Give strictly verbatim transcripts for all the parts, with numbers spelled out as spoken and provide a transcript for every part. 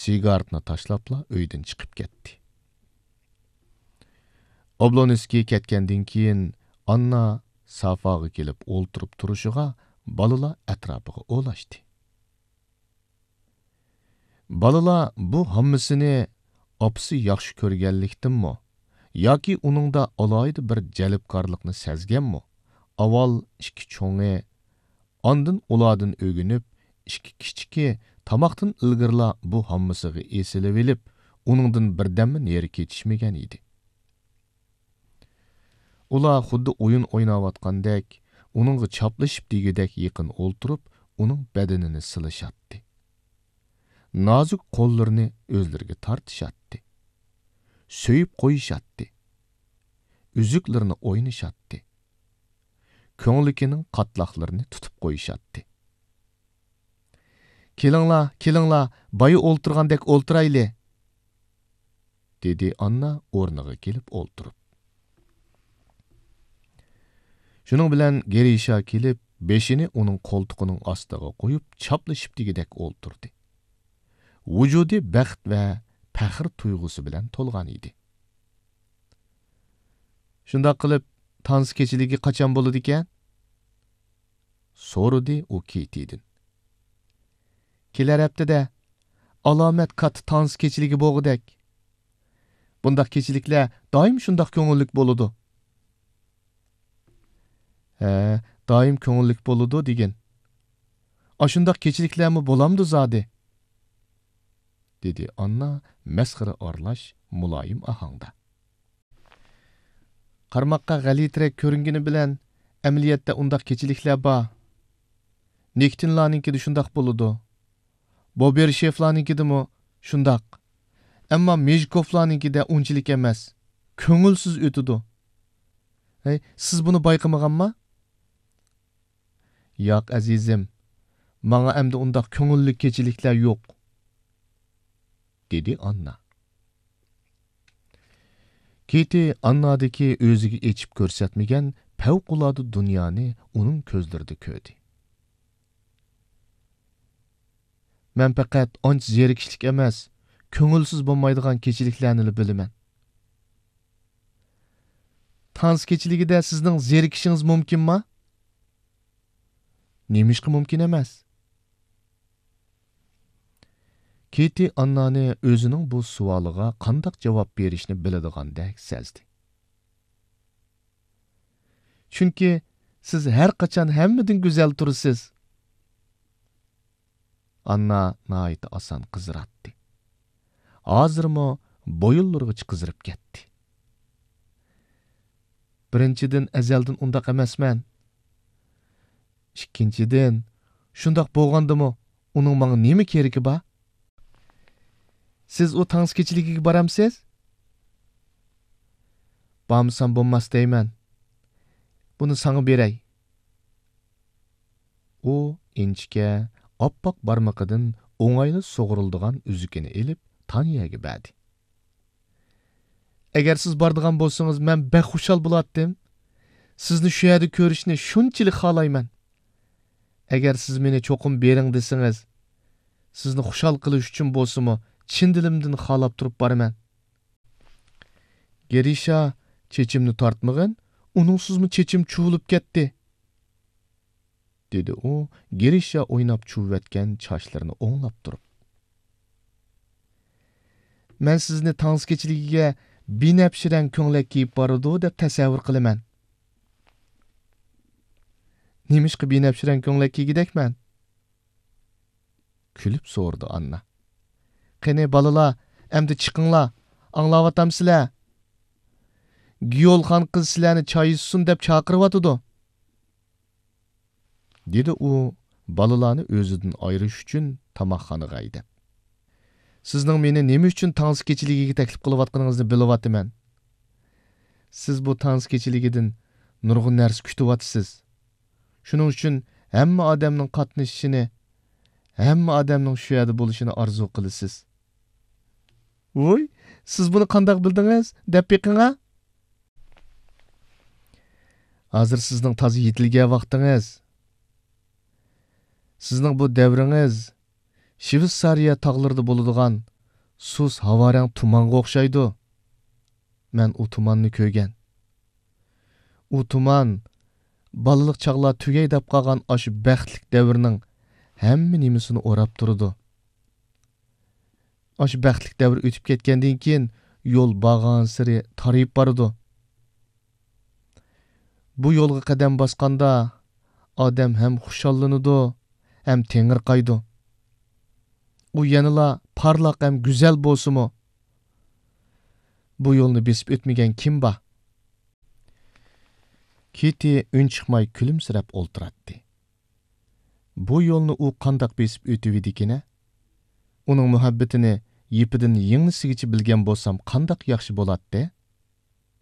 سىگارېتنى تاشلاپلا ئۆيدىن چىقىپ كەتتى. ئوبلونسكىي كەتكەندىن كېيىن، ئاننا سافاغا كېلىپ ئولتۇرۇپ تۇرۇشىغا، بالىلار ئەتراپىغا ئولاشتى. بالىلار بۇ ھاممىسىنى ئاپىسى ياخشى كۆرگەنلىكتىنمۇ ياكى ئۇنىڭدا ئالاھىدە بىر جەلپكارلىقنى سەزگەنمۇ، ئاۋۋال ئىككى چوڭى، ئاندىن ئۇلاردىن ئۆگىنىپ، ئىككى كىچىكى تاماقتىن ئىلگىرىلا بۇ ھاممىسىغا ئېسىلىۋېلىپ، ئۇنىڭدىن بىردەممۇ نېرى كېتىشمىگەن ئىدى. ئۇلار خۇددى ئويۇن ئويناۋاتقاندەك، ئۇنىڭغا چاپلىشىپ دېگۈدەك يېقىن ئولتۇرۇپ، ئۇنىڭ بەدىنىنى سىلىشاتتى. نازۇك قوللىرىنى ئۆزلىرىگە تارتىشاتتى. سۆيۈپ قويۇشاتتى. ئۈزۈكلىرىنى ئوينىشاتتى. كۆڭلىكىنىڭ قاتلاقلىرىنى تۇتۇپ قويۇشاتتى. «كېلىڭلار، كېلىڭلار، بايا ئولتۇرغاندەك ئولتۇرايلى!» دېدى ئاننا ئورنىغا كېلىپ ئولتۇرۇپ. شۇنىڭ بىلەن گېرىشا كېلىپ، بېشىنى ئۇنىڭ قولتۇقىنىڭ ئاستىغا قويۇپ، چاپلىشىپ دېگۈدەك ئولتۇردى. ۋۇجۇدى بەخت ۋە پەخىر تۇيغۇسى بىلەن تولغان ئىدى. «شۇنداق قىلىپ، تانسا كېچىلىكى قاچان بولىدىكەن؟» سورىدى ئۇ كېيتىدىن. «كېلەر ھەپتىدە. ئالامەت كاتتا تانسا كېچىلىكى بولغۇدەك. بۇنداق كېچىلىكلەر دائىم شۇنداق كۆڭۈللۈك بولىدۇ.» «ھە، دائىم كۆڭۈللۈك بولىدۇ دېگىن. ئاشۇنداق كېچىلىكلەرمۇ بولامدۇ زادى؟» دېدى ئاننا مەسخىرە ئارىلاش مۇلايىم ئاھاڭدا. «قارىماققا غەلىتىرەك كۆرۈنگىنى بىلەن، ئەمەلىيەتتە ئۇنداق كېچىلىكلەر بار. نىكىتىنلارنىڭكىدە شۇنداق بولىدۇ. بوبېرشېفلارنىڭكىدىمۇ شۇنداق. ئەمما مېژىكوفلارنىڭكىدە ئۇنچىلىك ئەمەس. كۆڭۈلسىز ئۆتىدۇ. ھەي، سىز بۇنى بايقىمىغانما؟» «ياق، ئەزىزىم، ماڭا ئەمدى ئۇنداق كۆڭۈللۈك كېچىلىكلەر يوق.» دېدى ئاننا. كېتى ئاننادىكى ئۆزىگە ئېچىپ كۆرسەتمىگەن پەۋقۇلئاددە دۇنيانى ئۇنىڭ كۆزلىرىدە كۆردى. «مەن پەقەت ئانچە زېرىكىشلىك ئەمەس، كۆڭۈلسىز بولمايدىغان كېچىلىكلەرنىلا بىلىمەن.» «تانسا كېچىلىكىدە سىزنىڭ زېرىكىشىڭىز مۇمكىنما؟» «نېمىشقا مۇمكىن ئەمەس؟» كېتى ئاننانى ئۆزىنىڭ بۇ سوئالىغا قانداق جاۋاب بېرىشنى بىلىدىغاندەك سەزدى. «چۈنكى سىز ھەر قاچان ھەممىدىن گۈزەل تۇرىسىز.» ئاننا ناھايىتى ئاسان قىزىراتتى. ھازىرمۇ بويۇنلىرىغىچە قىزىرىپ كەتتى. «بىرىنچىدىن، ئەزەلدىن ئۇنداق ئەمەسمەن. ئىككىنچىدىن، شۇنداق بولغاندىمۇ ئۇنىڭ ماڭا نېمە كېرىكى بار؟» «سىز ئۇ تانسا كېچىلىكىگە بارامسىز؟» «بارمىسام بولماس دەيمەن. بۇنى ساڭا بېرەي.» ئۇ ئىنچىكە، ئاپئاق بارمىقىدىن ئوڭايلا سۇغۇرۇلىدىغان ئۈزۈكىنى ئېلىپ، تانيەگە بەردى. «ئەگەر سىز بارىدىغان بولسىڭىز، مەن بەك خۇشال بولاتتىم. سىزنى شۇ يەردە كۆرۈشنى شۇنچىلىك خالايمەن. ئەگەر سىز مېنى چوقۇم بېرىڭ دېسىڭىز، سىزنى خۇشال قىلىش ئۈچۈن بولسىمۇ، چىن دىلىمدىن خالاپ تۇرۇپ بارىمەن.» گېرىشا چېچىمنى تارتمىغىن، ئۇنىڭسىزمۇ چېچىم چۇۋۇلۇپ كەتتى، دېدى ئۇ گېرىشا ئويناپ چۇۋۇۋەتكەن چاچلىرىنى ئوڭلاپ تۇرۇپ. مەن سىزنى تانسا كېچىلىكىگە بىنەپشە رەڭ كۆڭلەك كىيىپ بارىدۇ دەپ تەسەۋۋۇر قىلىمەن. نېمىشقا بىنەپشە رەڭ كۆڭلەك كىيگۈدەكمەن؟ كۈلۈپ سورىدى ئاننا. قېنى، بالىلار، ئەمدى چىقىڭلار، ئاڭلاۋاتامسىلەر؟ گىيولخان قىز سىلەرنى چاي ئىچسۇن دەپ چاقىرىۋاتىدۇ، دېدى ئۇ بالىلارنى ئۆزىدىن ئايرىش ئۈچۈن تاماقخانىغا ھەيدەپ. سىزنىڭ مېنى نېمە ئۈچۈن تانسا كېچىلىكىگە تەكلىپ قىلىۋاتقىنىڭىزنى بىلىۋاتىمەن. سىز بۇ تانسا كېچىلىكىدىن نۇرغۇن نەرسە كۈتۈۋاتىسىز. شۇنىڭ ئۈچۈن ھەممە ئادەمنىڭ قاتنىشىشىنى، ھەممە ئادەمنىڭ شۇ يەردە بولۇشىنى ئارزۇ قىلىسىز. ۋوي، سىز بۇنى قانداق بىلدىڭىز؟ دەپ بېقىڭا. ھازىر سىزنىڭ تازا يېتىلگەن ۋاقتىڭىز. سىزنىڭ بۇ دەۋرىڭىز شىۋېتسارىيە تاغلىرىدا بولىدىغان سۇس ھاۋارەڭ تۇمانغا ئوخشايدۇ. مەن ئۇ تۇماننى كۆرگەن. ئۇ تۇمان بالىلىق چاغلار تۈگەي دەپ قالغان ئاشۇ بەختلىك دەۋرنىڭ ھەممە نېمىسىنى ئوراپ تۇرىدۇ. ئاشۇ بەختلىك دەۋر ئۆتۈپ كەتكەندىن كېيىن، يول بارغانسېرى تارىيىپ بارىدۇ. بۇ يولغا قەدەم باسقاندا، ئادەم ھەم خۇشاللىنىدۇ، ھەم تېڭىرقايدۇ. ئۇ يەنىلا پارلاق ھەم گۈزەل بولسىمۇ، بۇ يولنى بېسىپ ئۆتمىگەن كىم بار؟ كىتى ئۈن چىقماي كۈلۈمسىرەپ ئولتۇراتتى. بۇ يولنى ئۇ قانداق بېسىپ ئۆتۈۋىدىكىنە؟ ئۇنىڭ مۇھەببىتىنى يىپىدىن يىڭنىسىگىچە بىلگەن بولسام، قانداق ياخشى بولاتتى؟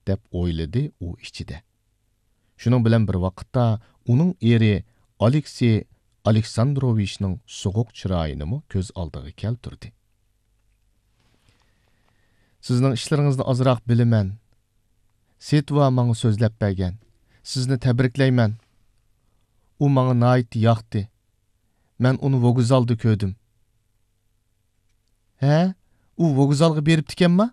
دەپ ئويلىدى ئۇ ئىچىدە. شۇنىڭ بىلەن بىر ۋاقىتتا ئۇنىڭ ئېرى ئالېكسېي ئالېكساندروۋىچنىڭ سوغۇق چىرايىنىمۇ كۆز ئالدىغا كەلتۈردى. سىزنىڭ ئىشلىرىڭىزنى ئازراق بىلىمەن. سېتۋا ماڭا سۆزلەپ بەرگەن. سىزنى تەبرىكلەيمەن. ئۇ ماڭا ناھايىتى ياقتى. مەن ئۇنى ۋوگزالدا كۆردۈم. ھە؟ ئۇ ۋوگزالغا بېرىپتىكەنما؟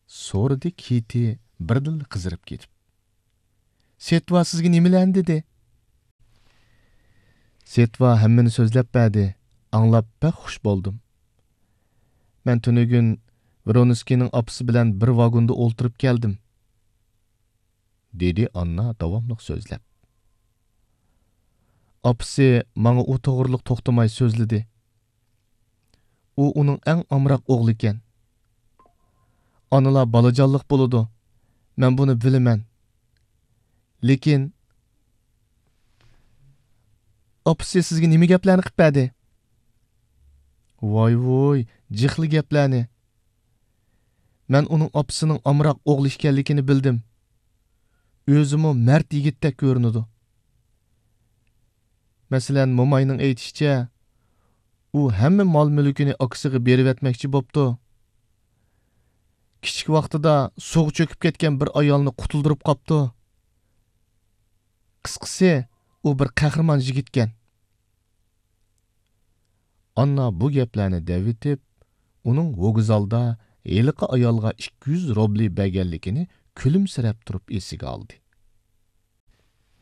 سورىدى كىتى بىردىنلا قىزىرىپ كېتىپ. سېتۋا سىزگە نېمىلەرنى دېدى؟ سېتۋا ھەممىنى سۆزلەپ بەردى. ئاڭلاپ بەك خۇش بولدۇم. مەن تۈنۈگۈن ۋرونسكىينىڭ ئاپىسى بىلەن بىر ۋاگوندا ئولتۇرۇپ كەلدىم. دېدى ئاننا داۋاملىق سۆزلەپ. ئاپىسى ماڭا ئۇ توغرىلىق توختىماي سۆزلىدى. ئۇ ئۇنىڭ ئەڭ ئامراق ئوغلىكەن. ئانىلار بالىجانلىق بولىدۇ. مەن بۇنى بىلىمەن. لېكىن، ئاپىسى سىزگە نېمە گەپلەرنى قىپ بەردى؟ ۋاي ۋۇي، جىقلا گەپلەرنى. مەن ئۇنىڭ ئاپىسىنىڭ ئامراق ئوغلى ئىكەنلىكىنى بىلدىم. ئۆزىمۇ مەرد يىگىتتەك كۆرۈنىدۇ. مەسىلەن، موماينىڭ ئېيتىشىچە، ئۇ ھەممە مال-مۈلكىنى ئاكىسىغا بېرىۋەتمەكچى بوپتۇ. كىچىك ۋاقتىدا سۇغا چۆكۈپ كەتكەن بىر ئايالنى قۇتۇلدۇرۇپ قاپتۇ. قىسقىسى، ئۇ بىر قەھرىمان يىگىتكەن. ئاننا بۇ گەپلەرنى دەۋېتىپ، ئۇنىڭ ۋوگزالدا ھېلىقى ئايالغا ئىككى يۈز روبلى بەرگەنلىكىنى كۈلۈمسىرەپ تۇرۇپ ئېسىگە ئالدى.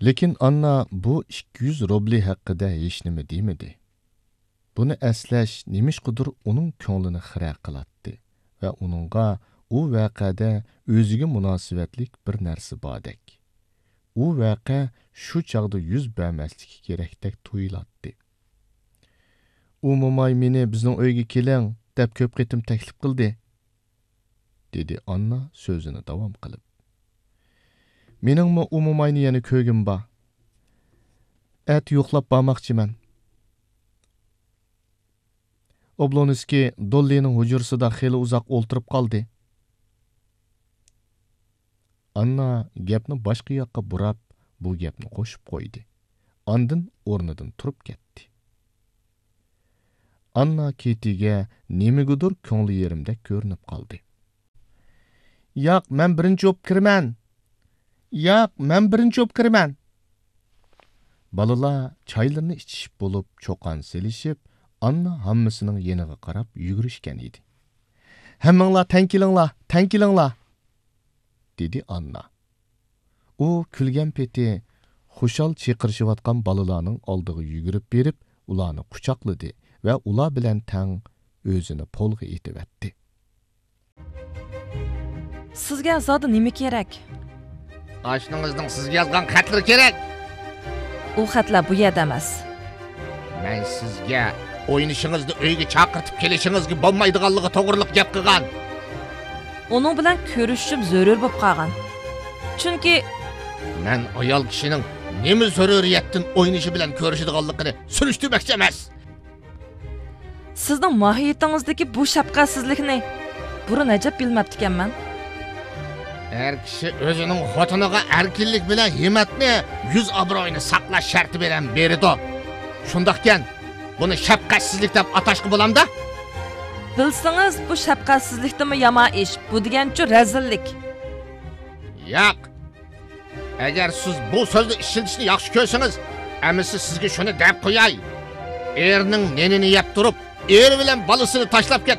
لېكىن ئاننا بۇ ئىككى يۈز روبلى ھەققىدە ھېچنېمە دېمىدى. بۇنى ئەسلەش نېمىشقىدۇر ئۇنىڭ كۆڭلىنى خىرە قىلاتتى ۋە ئۇنىڭغا ئۇ ۋەقەدە ئۆزىگە مۇناسىۋەتلىك بىر نەرسە باردەك. ئۇ ۋەقە شۇ چاغدا يۈز بەرمەسلىكى كېرەكتەك تۇيۇلاتتى. ئۇ موماي مېنى بىزنىڭ ئۆيگە كېلىڭ دەپ كۆپ قېتىم تەكلىپ قىلدى. دېدى ئاننا سۆزىنى داۋام قىلىپ. مېنىڭمۇ ئۇ موماينى يەنە كۆرگۈم بار. ئەتە يوقلاپ بارماقچىمەن. ئوبلونسكىي دوللىنىڭ ھۇجرىسىدا خېلى ئۇزاق ئولتۇرۇپ قالدى. ئاننا گەپنى باشقا ياققا بۇراپ، بۇ گەپنى قوشۇپ قويدى. ئاندىن ئورنىدىن تۇرۇپ كەتتى. ئاننا كېتىگە نېمىگىدۇر كۆڭلى يېرىمدەك كۆرۈنۈپ قالدى. ياق، مەن بىرىنچى بولۇپ كىرىمەن. ياق، مەن بىرىنچى بولۇپ كىرىمەن. بالىلار چايلىرىنى ئىچىشىپ بولۇپ، چۇقان سېلىشىپ، ئاننا ھاممىسىنىڭ يېنىغا قاراپ يۈگۈرۈشكەن ئىدى. ھەممىڭلار تەڭ كېلىڭلار، تەڭ كېلىڭلار! دېدى ئاننا. ئۇ كۈلگەن پېتى خۇشال چىقىرىشىۋاتقان بالىلارنىڭ ئالدىغا يۈگۈرۈپ بېرىپ، ئۇلارنى قۇچاقلىدى ۋە ئۇلار بىلەن تەڭ ئۆزىنى پولغا ئېتىۋەتتى. سىزگە زادى نېمە كېرەك؟ ئاشنىڭىزنىڭ سىزگە يازغان خەتلىرى كېرەك. ئۇ خەتلەر بۇ يەردە ئەمەس. مەن سىزگە ئوينىشىڭىزنى ئۆيگە چاقىرتىپ كېلىشىڭىزگە بولمايدىغانلىقى توغرىلىق گەپ قىلغان. ئۇنىڭ بىلەن كۆرۈشۈشۈم زۆرۈر بولۇپ قالغان. چۈنكى مەن ئايال كىشىنىڭ نېمە زۆرۈرىيەتتىن ئوينىشى بىلەن كۆرۈشىدىغانلىقىنى سۈرۈشتۈرمەكچى ئەمەس. سىزنىڭ ماھىيىتىڭىزدىكى بۇ شەپقەتسىزلىكنى بۇرۇن ئەجەب بىلمەپتىكەنمەن. ئەر كىشى ئۆزىنىڭ خوتۇنىغا ئەركىنلىك بىلەن ھىممەتنى، يۈز ئابرۇيىنى ساقلاش شەرتى بىلەن بېرىدۇ. شۇنداقكەن، بۇنى شەپقەتسىزلىك دەپ ئاتاشقا بولامدا؟ بىلسىڭىز، بۇ شەپقەتسىزلىكتىنمۇ يامان ئىش، بۇ دېگەنچۇ رەزىللىك. ياق. ئەگەر سىز بۇ سۆزنى ئىشلىتىشنى ياخشى كۆرسىڭىز، ئەمىسە سىزگە شۇنى دەپ قوياي. ئېرىنىڭ نېنىنى يەپ تۇرۇپ، ئېرى بىلەن بالىسىنى تاشلاپ كەت،